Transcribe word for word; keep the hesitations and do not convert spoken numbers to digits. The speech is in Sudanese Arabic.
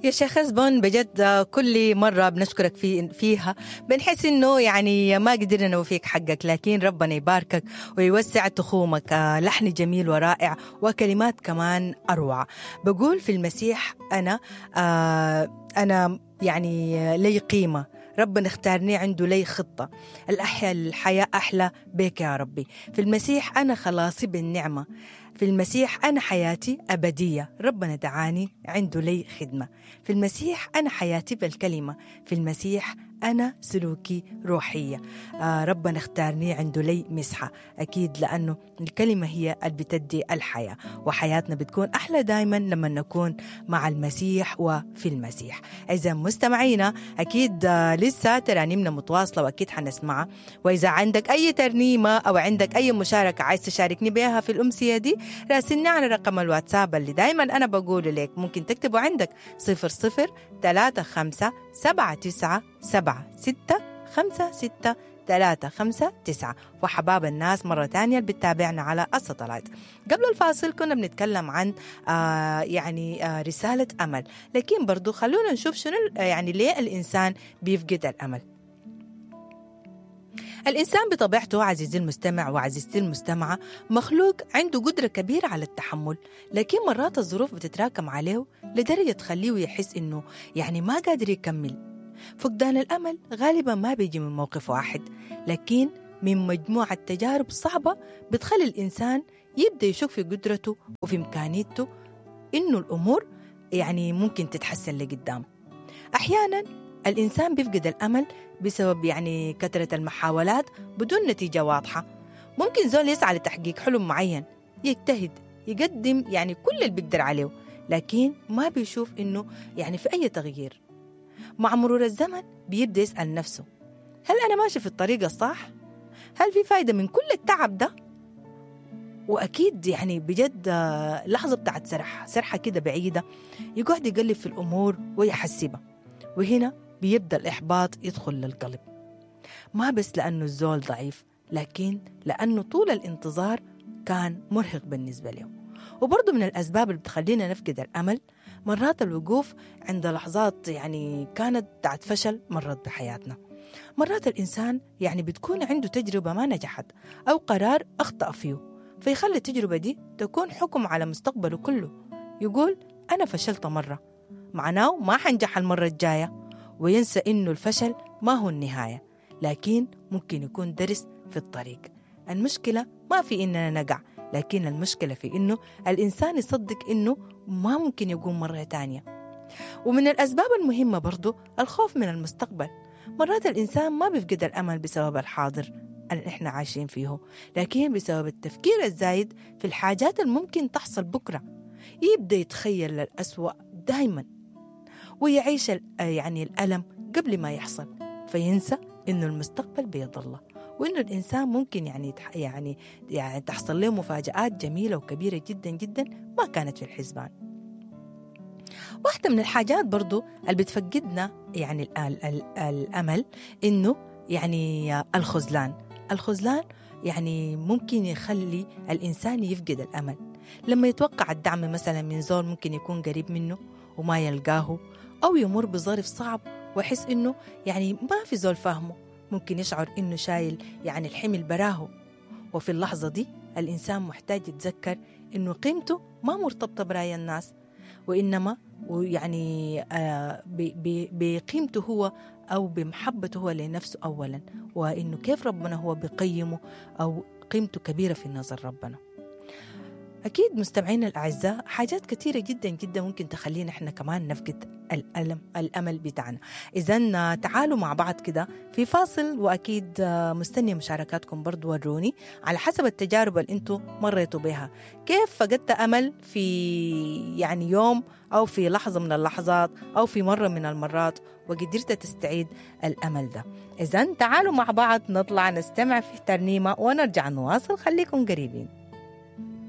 يا شيخ حسبون، بجد كل مرة بنشكرك في فيها بنحس إنه يعني ما قدرنا نوفيك حقك، لكن ربنا يباركك ويوسع تخومك. لحن جميل ورائع وكلمات كمان أروع. بقول في المسيح أنا آه أنا يعني لي قيمة، ربنا اختارني، عنده لي خطة، الأحياء الحياة أحلى بك يا ربي. في المسيح أنا خلاصي بالنعمة، في المسيح أنا حياتي أبدية، ربنا دعاني عنده لي خدمة. في المسيح أنا حياتي بالكلمة، في المسيح أنا سلوكي روحية، آه ربنا اختارني عنده لي مسحة. أكيد لأنه الكلمة هي اللي بتدي الحياة، وحياتنا بتكون أحلى دايما لما نكون مع المسيح وفي المسيح. إذا مستمعينا أكيد آه لسه ترانيمنا متواصلة وأكيد حنسمعها، وإذا عندك أي ترنيمة أو عندك أي مشاركة عايز تشاركني بها في الأمسية دي راسلني على رقم الواتساب اللي دايما أنا بقوله لك، ممكن تكتبه عندك صفر صفر ثلاثة خمسة سبعة تسعة سبعة ستة خمسة ستة ثلاثة خمسة تسعة. وحباب الناس مرة تانية اللي بتتابعنا على الساتلايت. قبل الفاصل كنا بنتكلم عن آه يعني آه رسالة أمل، لكن برضو خلونا نشوف شنو يعني ليه الإنسان بيفقد الأمل. الإنسان بطبيعته عزيزي المستمع وعزيزتي المستمعة مخلوق عنده قدرة كبيرة على التحمل، لكن مرات الظروف بتتراكم عليه لدرجة تخليه يحس إنه يعني ما قادر يكمل. فقدان الأمل غالبا ما بيجي من موقف واحد، لكن من مجموعة تجارب صعبة بتخلي الإنسان يبدأ يشك في قدرته وفي إمكانيته إنه الأمور يعني ممكن تتحسن لقدام. أحيانا الإنسان بيفقد الأمل بسبب يعني كثرة المحاولات بدون نتيجة واضحة. ممكن زول يسعى لتحقيق حلم معين، يجتهد، يقدم يعني كل اللي بيقدر عليه، لكن ما بيشوف إنه يعني في أي تغيير. مع مرور الزمن بيبدأ يسأل نفسه، هل أنا ماشي في الطريق الصح؟ هل في فايدة من كل التعب ده؟ وأكيد يعني بجد لحظة بتاعت سرحة سرحة كده بعيدة، يقعد يقلب في الأمور ويحسبها، وهنا بيبدأ الإحباط يدخل للقلب. ما بس لأنه الزول ضعيف، لكن لأنه طول الانتظار كان مرهق بالنسبة له. وبرضه من الأسباب اللي بتخلينا نفقد الأمل مرات الوقوف عند لحظات يعني كانت بتاعت فشل مرت بحياتنا. مرات الإنسان يعني بتكون عنده تجربة ما نجحت أو قرار أخطأ فيه، فيخلي التجربة دي تكون حكم على مستقبله كله. يقول أنا فشلت مرة، معناه ما حنجح المرة الجاية، وينسى إنه الفشل ما هو النهاية، لكن ممكن يكون درس في الطريق. المشكلة ما في إننا نقع، لكن المشكلة في إنه الإنسان يصدق إنه ما ممكن يقوم مرة تانية. ومن الأسباب المهمة برضو الخوف من المستقبل. مرات الإنسان ما بيفقد الأمل بسبب الحاضر اللي إحنا عايشين فيه، لكن بسبب التفكير الزايد في الحاجات الممكن تحصل بكرة. يبدأ يتخيل الأسوأ دايما ويعيش يعني الألم قبل ما يحصل، فينسى إنه المستقبل بيد الله، وإنه الإنسان ممكن يعني يعني يعني تحصل له مفاجآت جميلة وكبيرة جدا جدا ما كانت في الحسبان. واحدة من الحاجات برضو اللي بتفقدنا يعني ال ال ال الأمل إنه يعني الخذلان. الخذلان يعني ممكن يخلي الإنسان يفقد الأمل لما يتوقع الدعم مثلا من زول ممكن يكون قريب منه وما يلقاه، أو يمر بظرف صعب ويحس إنه يعني ما في زول فاهمه، ممكن يشعر إنه شايل يعني الحمل براه. وفي اللحظة دي الإنسان محتاج يتذكر إنه قيمته ما مرتبطة برأي الناس، وإنما ويعني آه بقيمته هو أو بمحبته هو لنفسه أولا، وإنه كيف ربنا هو بقيمه أو قيمته كبيرة في نظر ربنا. أكيد مستمعينا الأعزاء حاجات كثيرة جدا جدا ممكن تخلينا إحنا كمان نفقد الألم الأمل بتاعنا. إذن تعالوا مع بعض كده في فاصل، وأكيد مستنية مشاركاتكم برضو، وروني على حسب التجارب اللي أنتوا مريتوا بها، كيف فقدت أمل في يعني يوم أو في لحظة من اللحظات أو في مرة من المرات وقدرت تستعيد الأمل ده. إذن تعالوا مع بعض نطلع نستمع في ترنيمة ونرجع نواصل، خليكم قريبين.